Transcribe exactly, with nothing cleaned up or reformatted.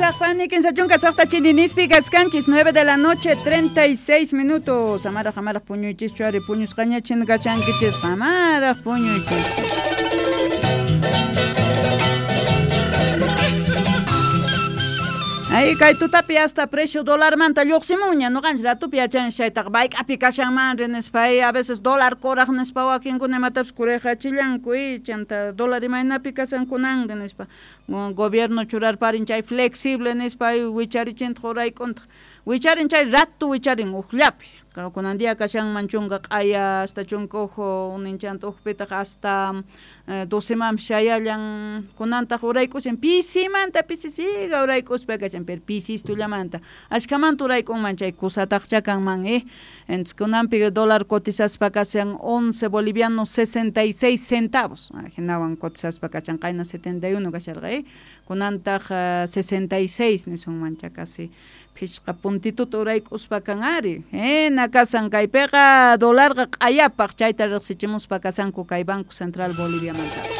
Pusaqpani kinsa chunka suqta chininispi kaskanchis nueve de la noche treinta y seis minutos. Amaraq amaraq puñuychischu ari puñusqañachin kashankichisqa amaraq puñuychis. Ay, kay tutapi hasta precio dólar manta lluqsimunña nuqanchis ratupi yachanchis chaytaqa mayk'api kashanmanri nispa a veces dólar kuraq nispa wakinkuna imatapis kurayqachillanku y chanta dólar imaynapi kashankunanri nispa gobierno churarparin chay flexible nispa wicharichintaj urayk'untaq wicharin chay ratu wicharin uqllapi kunan día kashanman chunka q'aya hasta chunka huk ninchanta uqpitaq hasta docemanpis chayallan kunantaq urayk'ushan pisimanta pisisiqa urayk'uspa kashan pero pisistullamanta ashkamanta urayk'unman chay kusataqcha kanman eh entonces kunanpi dólar cotizaspa kashan once bolivianos sesenta y seis centavos hinawan cotizaspa kashan qayna setenta y uno kasharqa eh kunantaq sesenta y seis nisunman cha casi phishqa puntituta urayk'uspa kan ari hina kasan kaypiqa dólarqa q'ayapaq chayta riqsichimuspa kasanku kay Banco Central Boliviamanta.